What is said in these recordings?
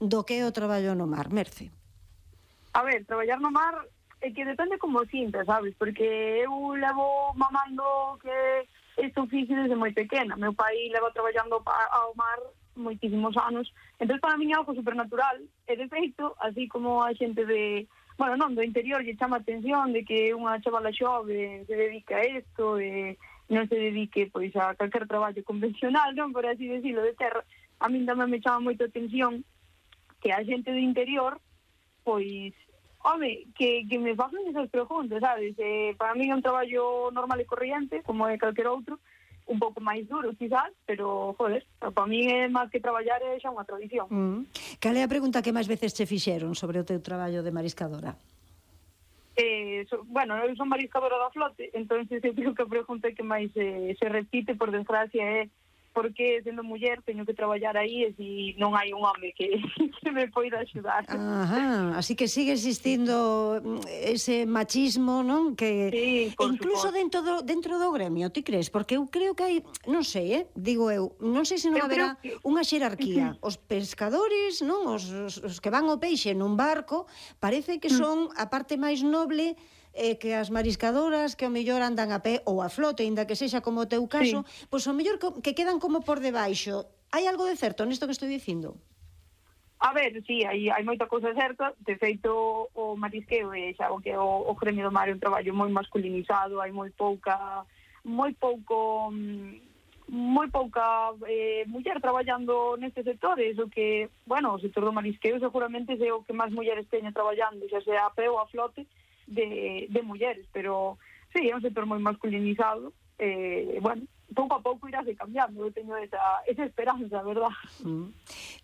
do que é o traballo no mar, Merce. A ver, traballar no mar é que depende como sinta, sabes? Porque eu levo mamando que este oficio desde moi pequena. Meu pai leva traballando ao mar moitísimos anos. Entón, para mí é algo supernatural. E, de feito, así como a xente de... Bueno, non, do interior lle chama a atención de que unha chavala xove se dedica a isto e non se dedique pois a calquer traballo convencional, non, por así decirlo, de terra. A min tamén me chama moito a atención que a xente do interior pois, home, que me facen esas preguntas, sabes? Para mí é un traballo normal e corriente, como é calquer outro, un pouco máis duro, quizás, pero, joder, para mí é máis que traballar é xa unha tradición. Cal é a pregunta que máis veces che fixeron sobre o teu traballo de mariscadora? Bueno, eu son mariscadora da flote, entón eu creo que a pregunta que máis se repite, por desgracia, é porque sendo muller teño que traballar aí e si non hai un home que me poida axudar. Ajá, así que sigue existindo ese machismo, non? Que sí, incluso dentro do gremio, ti crees? Porque eu creo que hai, non sei, digo eu, non sei se non haberá unha xerarquía. Os pescadores, non? Os que van ao peixe nun barco, parece que son a parte máis noble que as mariscadoras que ao mellor andan a pé ou a flote, ainda que sexa como o teu caso, pois ao mellor que quedan como por debaixo. Hai algo de certo nisto que estou dicindo? A ver, sí, hai moita cousa certa. De feito, o marisqueo é xa o que o gremio do mar é un traballo moi masculinizado, hai moi pouca muller traballando nestes sectores, o que, bueno, o sector do marisqueo seguramente é o que máis mulleres teñen traballando, xa sea a pé ou a flote, de mulleres, pero sí, é un sector moi masculinizado. Bueno, pouco a pouco irase cambiando, eu teño esa esperanza, verdad?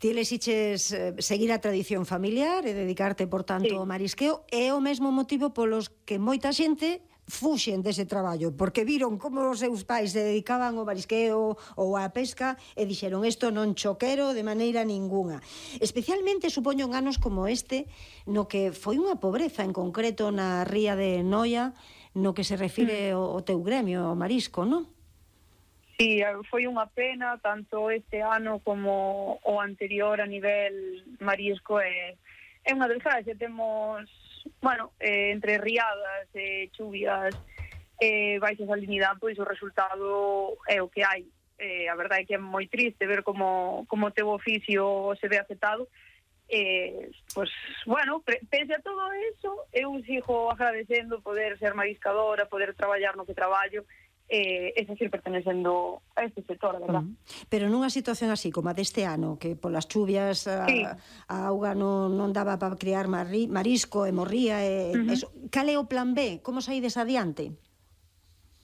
Ti elixiches seguir a tradición familiar e dedicarte, por tanto, ao marisqueo, é o mesmo motivo polos que moita xente fuxen dese traballo, porque viron como os seus pais se dedicaban ao marisqueo ou á pesca e dixeron isto non cho quero de maneira ninguna. Especialmente, supoño, en anos como este, no que foi unha pobreza, en concreto na ría de Noia, no que se refire ao teu gremio, ao marisco, non? Sí, foi unha pena, tanto este ano como o anterior a nivel marisco. É unha desgracia, temos, bueno, entre riadas, chuvias, baixa salinidade, pois o resultado é o que hai. A verdade é que é moi triste ver como o teu oficio se ve afectado. Pues, bueno, pese a todo eso, eu sigo agradecendo poder ser mariscadora, poder traballar no que traballo, e seguir pertenecendo a este sector, a verdad. Pero nunha situación así, como a deste ano, que polas chuvias a auga non daba para criar marisco e morría, cal é o plan B? Como saides adiante?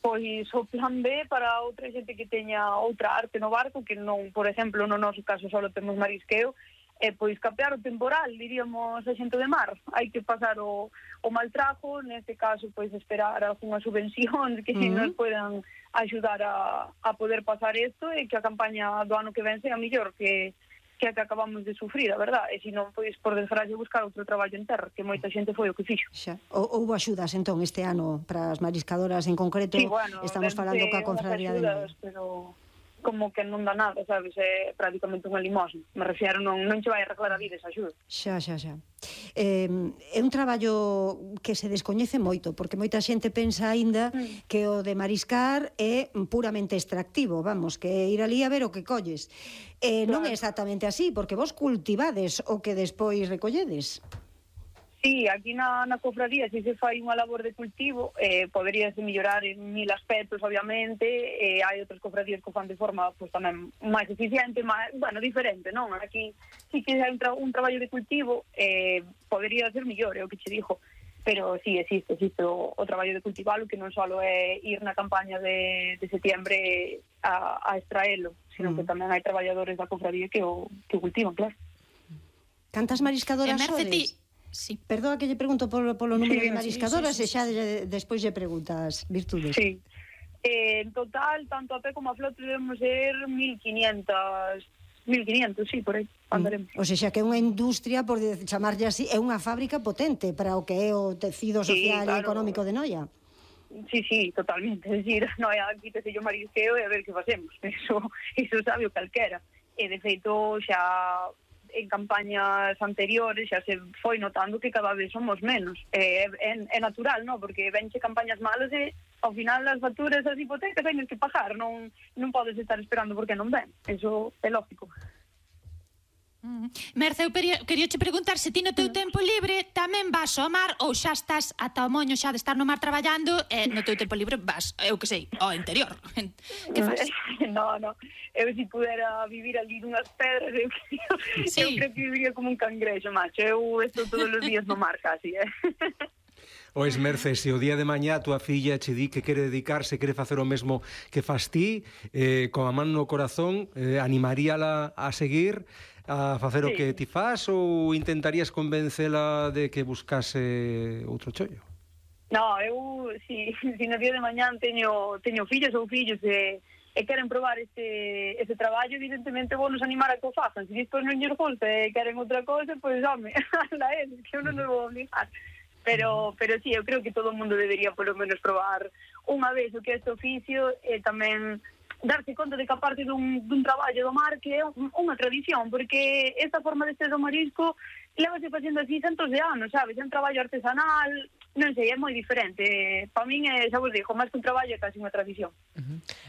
Pois o plan B para outra xente que teña outra arte no barco, que non, por exemplo, no noso caso só temos marisqueo, pois capear o temporal, diríamos a xente de mar. Hai que pasar o mal trago, neste caso, pois esperar algunha subvención que nos podan axudar a poder pasar isto e que a campaña do ano que ven sea mellor que a que acabamos de sufrir, a verdad. E se non, pois, por desgracia, buscar outro traballo en terra, que moita xente foi o que fixo. Houve axudas, entón, este ano para as mariscadoras en concreto? Sí, bueno, estamos falando coa Confraría de Noia. Pero como que non dá nada, sabes? É prácticamente unha limosna. Me refiero, non che vai arreglar a vida esa axuda. Xa. É un traballo que se descoñece moito, porque moita xente pensa aínda que o de mariscar é puramente extractivo, vamos, que é ir ali a ver o que colles. Non é exactamente así, porque vos cultivades o que despois recolledes. Sí, aquí na cofradía se fai unha labor de cultivo, poderíase mellorar en 1000 aspectos, obviamente, hai outras cofradías que fan de forma pues, tamén máis eficiente, bueno, diferente, non? Aquí sí que hai un traballo de cultivo, podería ser mellor, é o que che dixo, pero sí, existe o traballo de cultivalo, que non só é ir na campaña de setiembre a extraelo, sino que tamén hai traballadores da cofradía que o cultivan, claro. Cantas mariscadoras sodes? Sí. Perdoa que lle pregunto polo número de mariscadoras e xa despois lle preguntas, Virtudes. Sí. En total, tanto a pé como a flote debemos ser 1500, sí, por aí andaremos. O sea, que é unha industria, por chamarlle así, é unha fábrica potente para o que é o tecido social e económico de Noia. Sí, totalmente. É dicir, Noia, quítese o marisqueo e a ver que facemos. Eso sabe o calquera. E, de feito, xa en campañas anteriores xa se foi notando que cada vez somos menos. É natural, non? Porque venche campañas malas e ao final as facturas das hipotecas tenes que pagar, non podes estar esperando porque non ven. Eso é lógico. Merce, eu quería che preguntar se ti no teu tempo libre tamén vas ao mar ou xa estás ata o moño xa de estar no mar traballando e no teu tempo libre vas, eu que sei, ao interior. Que faz? No, eu se pudera vivir ali nunhas pedras eu creo que viviría como un cangrexo, macho. Eu estou todos os días no mar casi, Ois, Merce, se o día de mañá a tua filla che di que quere dedicarse, quere facer o mesmo que fas ti, con a man no corazón, animaríala a seguir a facer o que ti fas ou intentarías convencela de que buscase outro chollo? No, eu, si no día de mañán teño fillos ou fillos e queren probar ese traballo, evidentemente vou nos animar a que o facan. Se despois non lles gusta e queren outra cosa, pois, home, anda eles, que eu non nos vou obligar. Pero sí, eu creo que todo o mundo debería polo menos probar unha vez o que é este oficio e tamén darse conta de que aparte dun traballo do mar que é unha tradición, porque esta forma de ser do marisco levase facendo así centos de anos, sabes? É un traballo artesanal, non sei, é moi diferente. Para min, xa vos digo, máis que un traballo é casi unha tradición.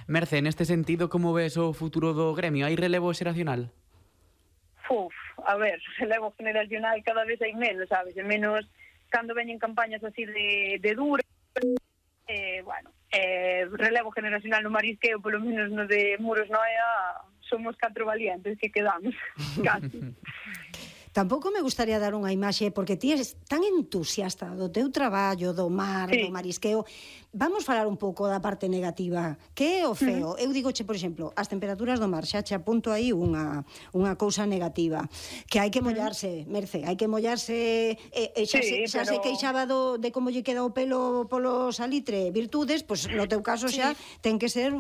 Merce, neste sentido, como ves o futuro do gremio? Hai relevo xeracional? A ver, relevo generacional cada vez hai menos, sabes? E menos cando veñen campañas así de dura. Relevo generacional no marisqueo, polo menos no de Muros Noia, somos 4 valientes que quedamos, casi. Tampouco me gustaría dar unha imaxe, porque ti és tan entusiasta do teu traballo, do mar, do marisqueo. Vamos falar un pouco da parte negativa. Que é o feo? Eu digoche, por exemplo, as temperaturas do mar, xa che apunto aí unha cousa negativa, que hai que mollarse, Merce, hai que mollarse, xa se queixaba de como lle queda o pelo polo salitre, virtudes, pois no teu caso xa ten que ser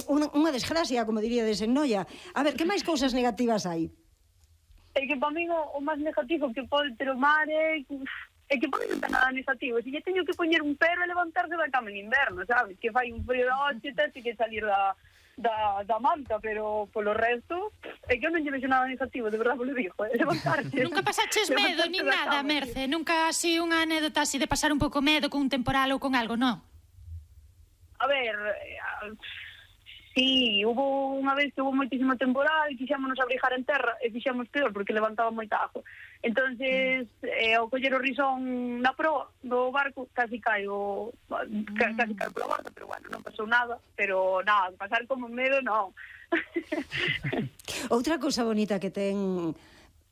unha desgracia, como diríades en Noia. A ver, que máis cousas negativas hai? É que para mí o máis negativo que pode ter o mar é que pode non ter nada negativo. Se lle teño que poñer un pero e levantarse da cama en inverno, sabes? Que fai un frío da hoxe, tens que salir da manta, pero polo resto é que eu non lle vexo nada negativo, de verdade vos lo digo, levantarse. Nunca pasaches medo ni nada, Merce? Nunca así unha anécdota así de pasar un pouco medo con un temporal ou con algo, non? A ver, sí, hubo unha vez que hubo moitísimo temporal e quixámonos abrigar en terra e fixamos peor porque levantaba moita agua. Entonces, ao coller o risón na proa do barco, casi caio pola borda, pero bueno, non pasou nada, pero nada, pasar como medo, non. Outra cousa bonita que ten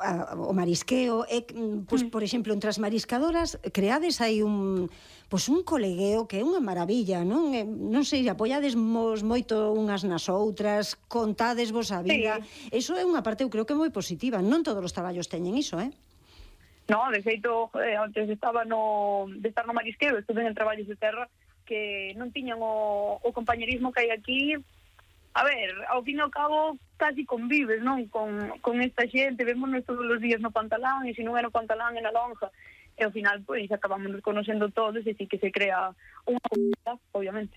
o marisqueo é, pois, por exemplo, entre as mariscadoras creades aí un colegueo que é unha maravilla, non? Non sei, apoiadesmos moito unhas nas outras, contádesvos a vida. Eso é unha parte, eu creo que moi positiva. Non todos os traballos teñen iso, No, de feito, antes estaba de estar no marisqueo, estuve en traballos de terra que non tiñan o compañerismo que hai aquí. A ver, ao fin e ao cabo casi convives, non? Con esta xente, vémonos todos os días no Pantalán, e se non é no Pantalán, é na lonja. E ao final, pois, acabamos conocendo todos e sí que se crea unha comunidade, obviamente.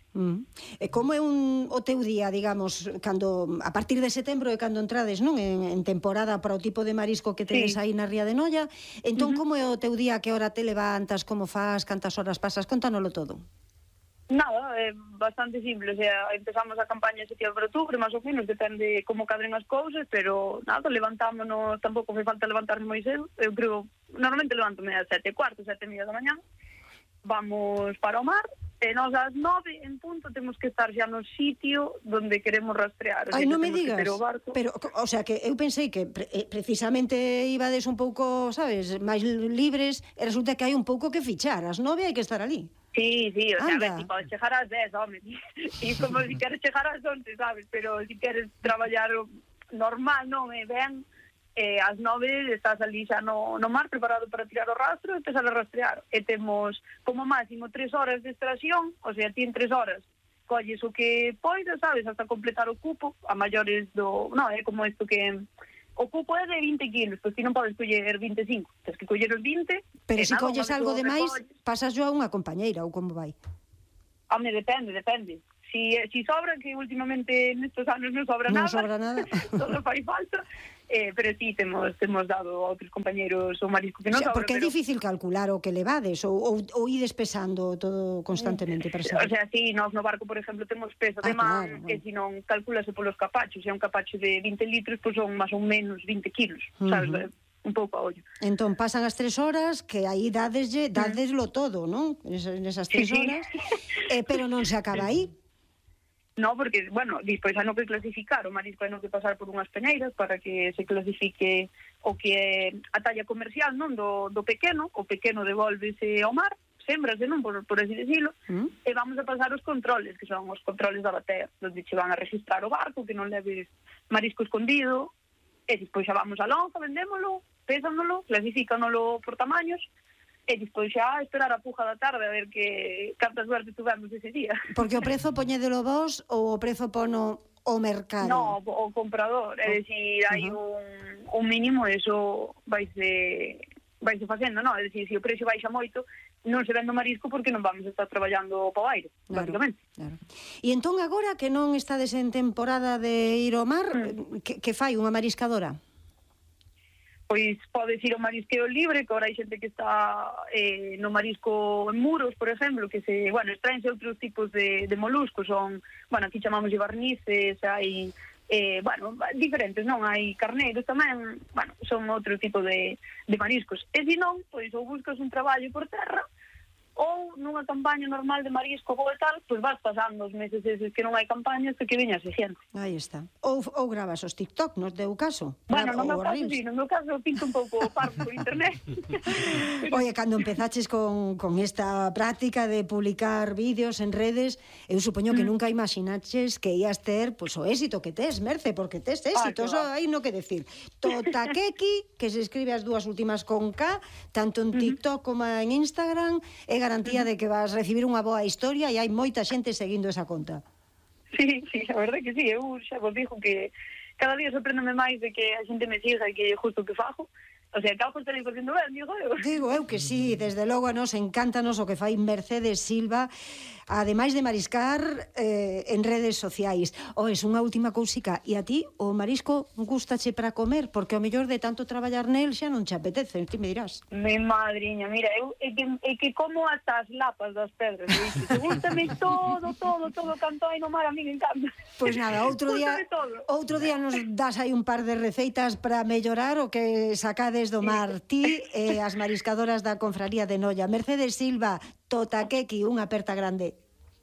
E como é o teu día, digamos, cando a partir de setembro é cando entrades, non? En temporada para o tipo de marisco que tedes aí na Ría de Noia. Entón, como é o teu día, que hora te levantas, como fas, cantas horas pasas? Contánoslo todo. Nada, é bastante simple, o sea, empezamos a campaña en setembro, outubro, máis ou menos, depende como cadren as cousas, pero nada, levantámonos, tampouco fai falta levantarse moi cedo, eu creo, normalmente levántome a 7:15, 7:30 da mañá, vamos para o mar, e nós ás 9 en punto temos que estar xa no sitio donde queremos rastrear. Ai, non me digas, pero, o sea, que eu pensei que precisamente ibades un pouco, sabes, máis libres, e resulta que hai un pouco que fichar, ás 9 hai que estar ali. Sí, o sea, a ver, si podes chegar ás 10, home, e como si queres chegar ás 11, sabes, pero si queres traballar normal, non, ben, ás 9 estás ali xa no mar preparado para tirar o rastro e empezar a rastrear, e temos como máximo 3 horas de extracción, o sea, ti en 3 horas colles o que poidas, sabes, hasta completar o cupo, a maiores non, é como isto que o cupo é de 20 kilos, pois ti non podes coller 25, tens que coller os 20. Pero se colles algo de máis, pasas yo a unha compañeira, ou como vai? Home, depende. si sobra, que últimamente nestes anos non sobra Non nada. sobra nada. Todo fai falta. Pero sí, temos dado a outros compañeros o marisco que non sobra. Porque é difícil calcular o que levades ou ides pesando todo constantemente para saber. O sea, sí, nós no barco, por exemplo, temos peso de man, claro, que se non calculase polos capachos, se é un capacho de 20 litros, pois son máis ou menos 20 kilos, sabes? Un pouco a ollo. Entón pasan as 3 horas que aí dadeslo todo, non? Nesas 3 horas, pero non se acaba aí. No, porque, bueno, despois hai no que clasificar, o marisco hai no que pasar por unhas peneiras para que se clasifique o que é a talla comercial, non, do pequeno, o pequeno devolvese ao mar, sembrase, non, por así decirlo, e vamos a pasar os controles, que son os controles da batea, onde che van a registrar o barco, que non leves marisco escondido, e despois xa vamos a lonza, vendémolo, pésanolo, clasifícanolo por tamaños, e despois xa esperar a puja da tarde a ver que cantas suerte tuvemos ese día. Porque o prezo poñédelo vos ou o prezo pono o mercado? No, o comprador, é dicir, hai un mínimo, eso vaise facendo, non? É dicir, se o precio baixa moito, non se vende o marisco porque non vamos a estar traballando para o aire, basicamente. Claro. E entón agora que non estades en temporada de ir ao mar, que fai unha mariscadora? Pois podes ir ao marisqueo libre, que agora hai xente que está no marisco en muros, por exemplo, que extraense outros tipos de moluscos, son, aquí chamamos de barnices, hai, diferentes, non? Hai carneiros tamén, son outro tipo de mariscos. E se non, pois ou buscas un traballo por terra, ou nunha campaña normal de marisco ou tal, pois vas pasando os meses eses que non hai campañas que viña a xente. Aí está. Ou gravas os TikTok, nos deu caso? No meu caso pinto un pouco parvo por internet. Oye, cando empezaches con esta práctica de publicar vídeos en redes, eu supoño que nunca imaginaches que ías ter o éxito que tes, Merce, porque tes éxito, eso hai no que decir. Totakeki, que se escribe as dúas últimas con K, tanto en TikTok como en Instagram, é garantía de que vas recibir unha boa historia e hai moita xente seguindo esa conta. Sí, a verdade que sí, eu xa vos digo que cada día sorpréndome máis de que a xente me siga e que é justo o que fago. O sea, que algo estaréis facendo ben, digo eu. Digo eu que sí, desde logo a nos encántanos o que fai Mercedes Silva, ademais de mariscar en redes sociais. Es unha última cousica, e a ti o marisco gustache para comer? Porque o mellor de tanto traballar nel xa non che apetece, ti me dirás. Mi madriña, mira, eu é que como hasta as lapas das pedras, te gustame todo, canto aí no mar, a mí me encanta. Pois nada, outro día nos das aí un par de receitas para mellorar o que sacades do mar ti e as mariscadoras da Confraría de Noia. Mercedes Silva, Totakeki, unha aperta grande.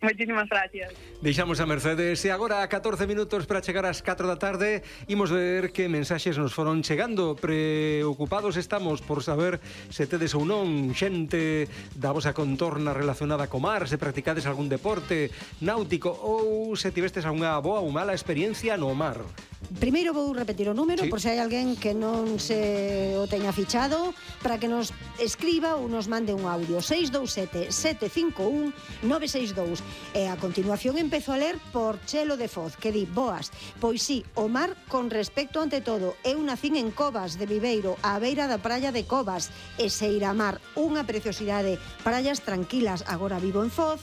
Moitísimas gracias. Deixamos a Mercedes e agora a 14 minutos para chegar ás 4 da tarde imos ver que mensaxes nos foron chegando. Preocupados estamos por saber se tedes ou non xente da vosa contorna relacionada co mar, se practicades algún deporte náutico ou se tivestes algunha boa ou mala experiencia no mar. Primeiro vou repetir o número, por se hai alguén que non se o teña fichado, para que nos escriba ou nos mande un audio. 627-751-962. E a continuación empezo a ler por Chelo de Foz, que di: boas, pois sí, o mar con respecto ante todo. Eu nacín en Covas de Viveiro, á beira da praia de Covas, e Seiramar, unha preciosidade, praias tranquilas. Agora vivo en Foz.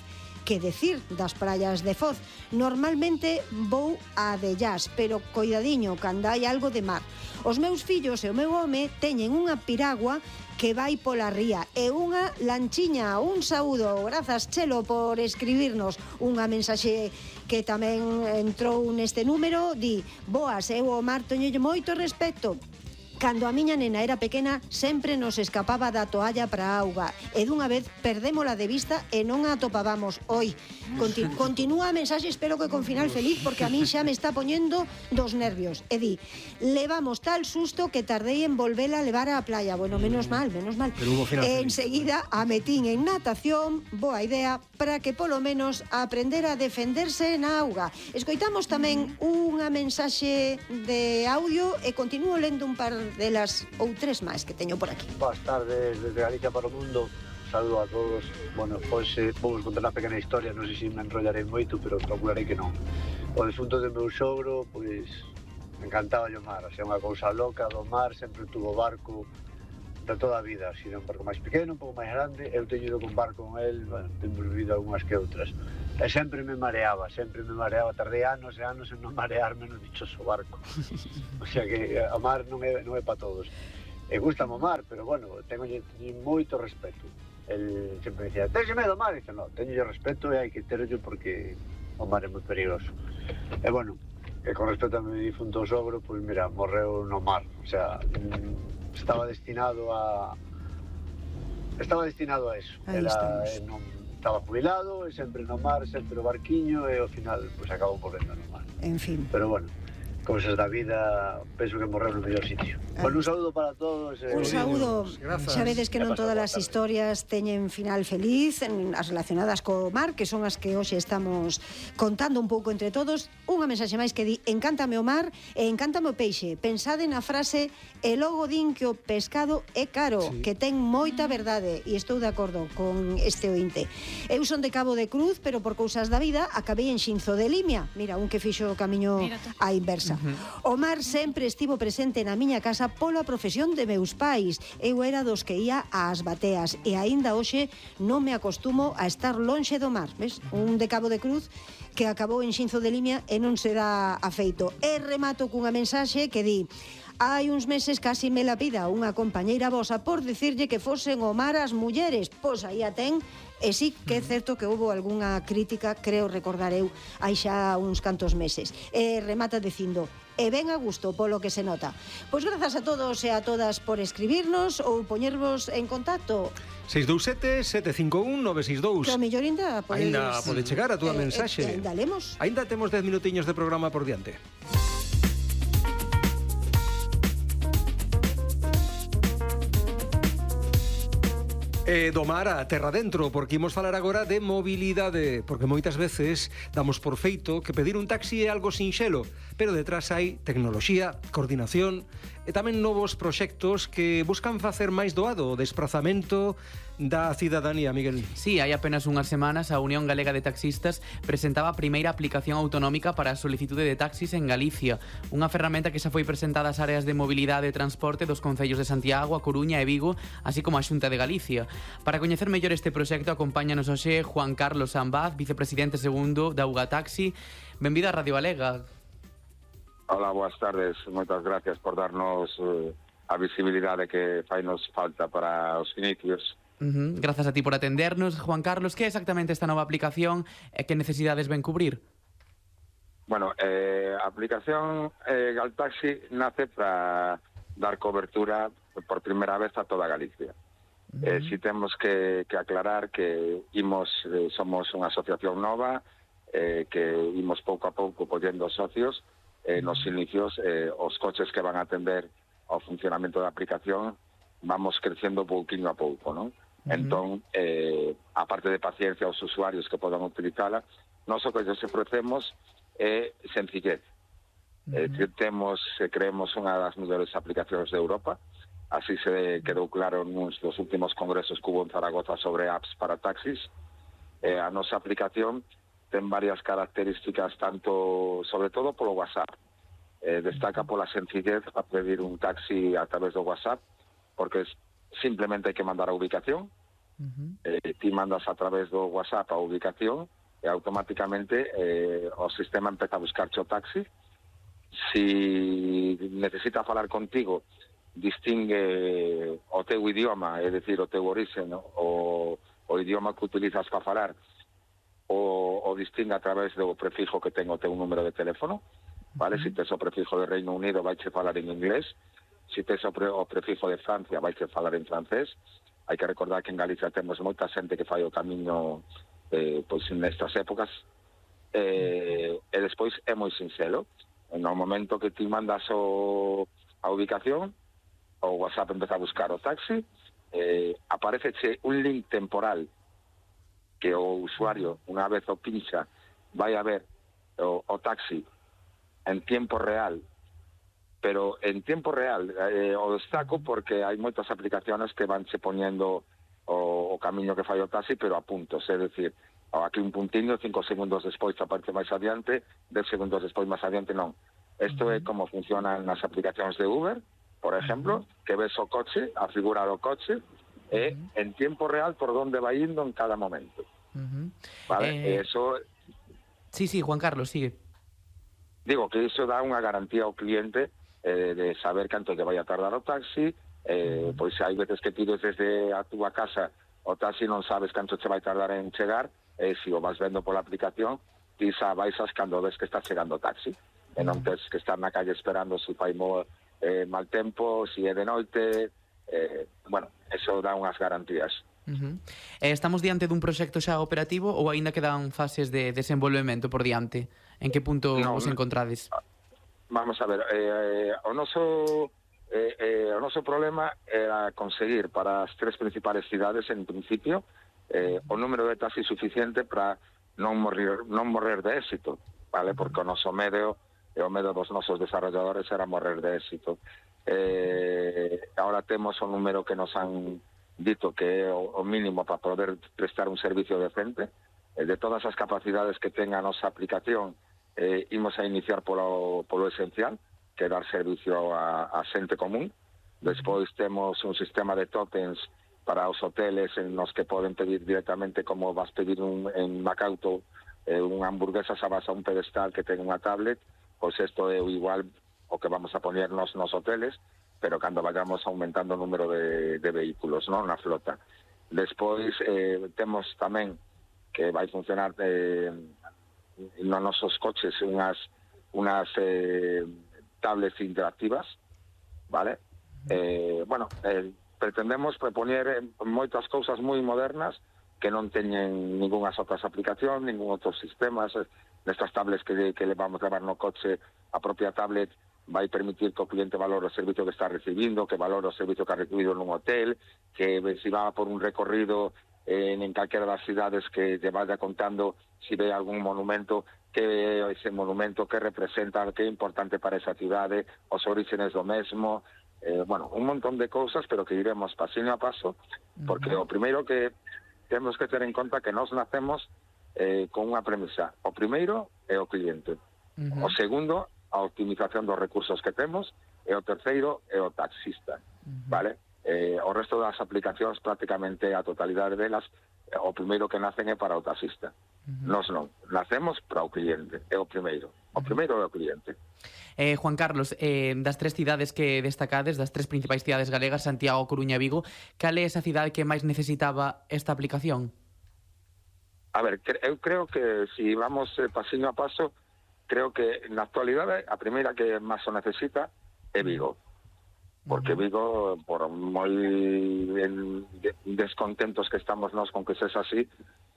Que decir das praias de Foz? Normalmente vou a Dellás, pero coidadiño, cando hai algo de mar. Os meus fillos e o meu home teñen unha piragua que vai pola ría e unha lanchiña. Un saúdo, grazas Chelo por escribirnos unha mensaxe que tamén entrou neste número. Di: boas, eu ao mar teñolle moito respecto. Cando a miña nena era pequena sempre nos escapaba da toalla para a auga e dunha vez perdémola de vista e non a atopábamos. Continúa a mensaxe, espero que con final feliz, porque a min xa me está poñendo dos nervios. E di: levamos tal susto que tardei en volvela a levar á playa. Bueno, menos mal. Enseguida a metín en natación, boa idea, para que polo menos aprender a defenderse na auga. Escoitamos tamén unha mensaxe de audio e continúo lendo un par delas ou tres máis que teño por aquí. Boas tardes desde Galicia para o mundo. Saludo a todos. Bueno, hoxe vamos contar unha pequena historia, non sei se me enrollarei moito, pero procurarei que non. O defunto do meu sogro, pois, encantaba o mar, xa unha cousa loca do mar, sempre tuvo barco, de toda a vida, así un barco máis pequeno, un pouco máis grande. Eu teño ido con barco con el, bueno, temos vivido algunhas que outras. E sempre me mareaba, tardei anos e anos en non marearme no dichoso barco. O sea que o mar non é para todos. E gusta o mar, pero bueno, tengo moito respeto. El sempre me dicía, "Tens medo ao mar?" E dice, "No, teño respeto e hai que terlo porque o mar é moi perigoso." E bueno, que con respecto a mi difunto sogro, pois mira, morreu no mar. O sea, estaba destinado a eso. Estaba jubilado, e sempre no mar, sempre o barquiño, e ao final pues, acabou morrendo no mar. En fin. Pero bueno, cousas da vida, penso que morreu no mellor sitio. Bueno, un saúdo para todos. Un saúdo. Xa vedes que non todas as historias teñen final feliz, as relacionadas co mar, que son as que hoxe estamos contando un pouco entre todos. Unha mensaxe máis que di, encántame o mar e encántame o peixe. Pensade na frase, e logo din que o pescado é caro, sí, que ten moita verdade, e estou de acordo con este ointe. Eu son de Cabo de Cruz, pero por cousas da vida acabei en Xinzo de Limia. Mira, un que fixo o camiño á inversa. O mar sempre estivo presente na miña casa pola profesión de meus pais. Eu era dos que ia ás bateas e aínda hoxe non me acostumo a estar lonxe do mar. Ves? Un de Cabo de Cruz que acabou en Xinzo de Limia e non se dá afeito. E remato cunha mensaxe que di: hai uns meses casi me la pida unha compañeira vosa por dicirlle que fosen o mar as mulleres. Pois aí a ten. E sí que é certo que houve algunha crítica, creo recordar eu, hai xa uns cantos meses. E remata dicindo, e ben a gusto polo que se nota. Pois grazas a todos e a todas por escribirnos ou poñervos en contacto. 627-751-962. Que ao mellor ainda pode chegar a túa mensaxe. Ainda lemos. Ainda temos 10 minutiños de programa por diante. Do mar a terra dentro, porque imos falar agora de mobilidade, porque moitas veces damos por feito que pedir un taxi é algo sinxelo, pero detrás hai tecnoloxía, coordinación e tamén novos proxectos que buscan facer máis doado o desprazamento da cidadanía, Miguel. Sí, hai apenas unhas semanas a Unión Galega de Taxistas presentaba a primeira aplicación autonómica para a solicitude de taxis en Galicia, unha ferramenta que xa foi presentada ás áreas de mobilidade e transporte dos concellos de Santiago, A Coruña e Vigo, así como a Xunta de Galicia. Para coñecer mellor este proxecto acompáñanos hoxe Juan Carlos Sambaz, vicepresidente segundo da UGA Taxi. Benvido a Radio Galega. Hola, boas tardes. Moitas gracias por darnos a visibilidade que fainos falta para os inicios. Grazas a ti por atendernos. Juan Carlos, que é exactamente esta nova aplicación e que necesidades ven cubrir? Bueno, a aplicación Galtaxi nace para dar cobertura por primeira vez a toda Galicia. Si temos que aclarar que somos unha asociación nova, que imos pouco a pouco collendo socios. Nos inicios, os coches que van a atender ao funcionamento da aplicación vamos crecendo pouquinho a pouco, non? Entón, a parte de paciencia aos usuarios que podan utilizala, nós o que lles ofrecemos é sencillez. Creemos unha das mellores aplicacións de Europa, así se quedou claro nos dos últimos congresos que hubo en Zaragoza sobre apps para taxis. A nosa aplicación ten varias características, sobre todo polo WhatsApp. Destaca pola sencillez a pedir un taxi a través do WhatsApp, porque simplemente hai que mandar a ubicación. Ti mandas a través do WhatsApp a ubicación e automáticamente o sistema empeza a buscarche o taxi. Si necesita falar contigo, distingue o teu idioma, é dicir, o teu orixen, o idioma que utilizas para falar, o distingue a través do prefijo que ten o teu número de teléfono, vale? Si tes o prefijo de Reino Unido, vaiche falar en inglés. Si tes o prefijo de Francia, vaiche falar en francés. Hai que recordar que en Galicia temos moita xente que fai o camiño pois nestas épocas. E despois é moi sinxelo. No momento que ti mandas a ubicación, o WhatsApp empeza a buscar o taxi, apareceche un link temporal que o usuario, unha vez o pincha, vai a ver o taxi en tiempo real, pero en tiempo real o destaco porque hai moitas aplicaciones que vanche poñendo o camiño que fai o taxi, pero a puntos, é dicir, aquí un puntiño, 5 segundos despois aparece máis adiante, 10 segundos despois máis adiante non. Isto é como funcionan nas aplicacións de Uber, por exemplo, que ves o coche, a figura do coche, e en tiempo real por donde vai indo en cada momento. Vale? Eso... Sí, Juan Carlos, sigue. Digo que iso dá unha garantía ao cliente de saber canto lle vai a tardar o taxi, pois hai veces que pides desde a túa casa o taxi non sabes canto che vai tardar en chegar, e se o vas vendo pola aplicación, ti xa vais cando ves que está chegando o taxi, e non tens que estar na calle esperando se fai mal tempo, se é de noite, bueno, eso dá unhas garantías. Estamos diante dun proxecto xa operativo ou aínda quedan fases de desenvolvemento por diante? En que punto vos encontrades? Vamos a ver, o noso problema era conseguir para as 3 principales cidades, en principio, o número de taxis suficiente para non morrer de éxito, vale? Porque o noso medio e o medio dos nosos desarrolladores era morrer de éxito. Ahora temos o número que nos han dito que é o mínimo para poder prestar un servicio decente. De todas as capacidades que ten a nosa aplicación, imos a iniciar polo esencial, que é dar servicio a xente común. Despois temos un sistema de tokens para os hoteles en los que poden pedir directamente, como vas pedir en Macauto unha hamburguesa, xa vas a un pedestal que ten unha tablet, pois isto é igual o que vamos a poner nos hoteles, pero cando vayamos aumentando o número de vehículos, non, na flota. Despois temos tamén que vai funcionar nos nosos coches unhas tablets interactivas, vale? Pretendemos propoñer moitas cousas moi modernas que non teñen ningunhas outras aplicacións, ningún outro sistema. Nestas tablets que le vamos a levar no coche, a propia tablet vai permitir que o cliente valore o servicio que está recibindo, que valore o servicio que ha recibido nun hotel, que se va por un recorrido en calquera das cidades que lle vaya contando se ve algún monumento, que é ese monumento, que representa, que é importante para esa cidade, os orígenes do mesmo, un montón de cousas, pero que iremos pasino a paso, porque o primeiro que temos que ter en conta que nós nacemos con unha premisa. O primeiro é o cliente, o segundo a optimización dos recursos que temos, e o terceiro é o taxista, vale? O resto das aplicacións, prácticamente a totalidade delas, o primeiro que nacen é para o taxista. Nos non, nacemos para o cliente, é o primeiro é o cliente. Juan Carlos, das 3 cidades que destacades, das 3 principais cidades galegas, Santiago, Coruña e Vigo, cal é esa cidade que máis necesitaba esta aplicación? A ver, eu creo que se vamos pasino a paso, creo que na actualidade a primeira que máis o necesita é Vigo, porque Vigo, por moi descontentos que estamos nós con que sexa así,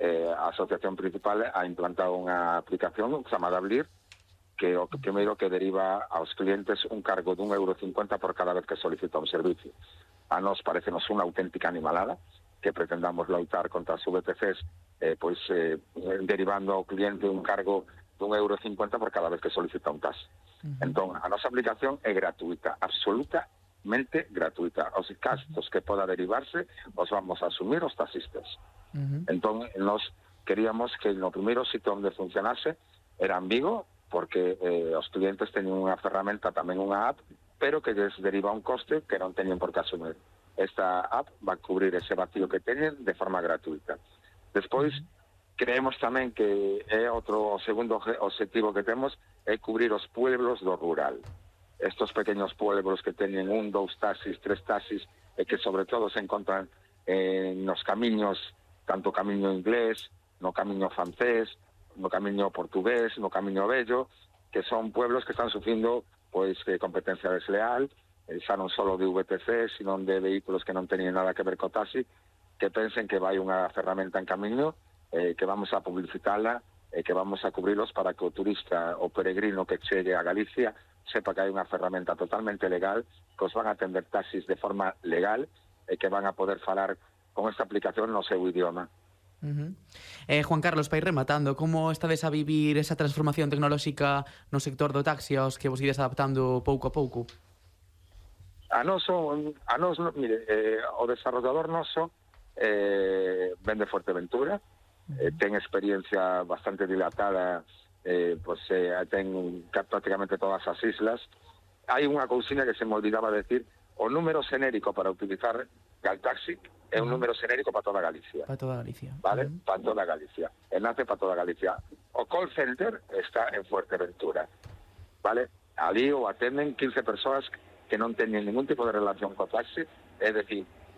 a asociación principal ha implantado unha aplicación chamada Blir, que o primeiro que deriva aos clientes un cargo de €1,50 por cada vez que solicita un servicio. A nós parecenos unha auténtica animalada que pretendamos loitar contra as VTCs, derivando ao cliente un cargo de €1,50 por cada vez que solicita un taxi. Entón, a nosa aplicación é gratuita, absolutamente gratuita. Os gastos que poda derivarse os vamos a asumir os taxistas. Entón, nos queríamos que no primeiro sitio onde funcionase era en Vigo, porque os clientes teñen unha ferramenta, tamén unha app, pero que les deriva un coste que non teñen por que asumir. Esta app va a cubrir ese vacío que teñen de forma gratuita. Despois, creemos tamén que é o segundo objetivo que temos é cubrir os pueblos do rural. Estos pequeños pueblos que teñen 1, 2 taxis, 3 taxis, e que sobre todo se encontran nos camiños, tanto camiño inglés, no camiño francés, no camiño portugués, no camiño vello, que son pueblos que están sufrindo competencia desleal, xa non só de VTC, sino de vehículos que non teñen nada que ver co taxi, que pensen que vai unha ferramenta en camiño, que vamos a publicitarla e que vamos a cubrilos para que o turista o peregrino que chegue a Galicia sepa que hai unha ferramenta totalmente legal, que os van a atender taxis de forma legal e que van a poder falar con esta aplicación no seu idioma. Juan Carlos, para ir rematando, como estades a vivir esa transformación tecnolóxica no sector do taxi aos que vos ides adaptando pouco a pouco? Mire, o desarrollador noso vende Fuerteventura, ten experiencia bastante dilatada, ten prácticamente todas as islas. hai unha cousiña que se me olvidaba decir, o número xenérico para utilizar Galtaxi é un número xenérico para toda Galicia. Para toda Galicia. Vale? Para toda Galicia. Enlace para toda Galicia. O call center está en Fuerteventura. Vale? Ali o atenden 15 persoas que non teñen ningún tipo de relación co taxi, é dicir,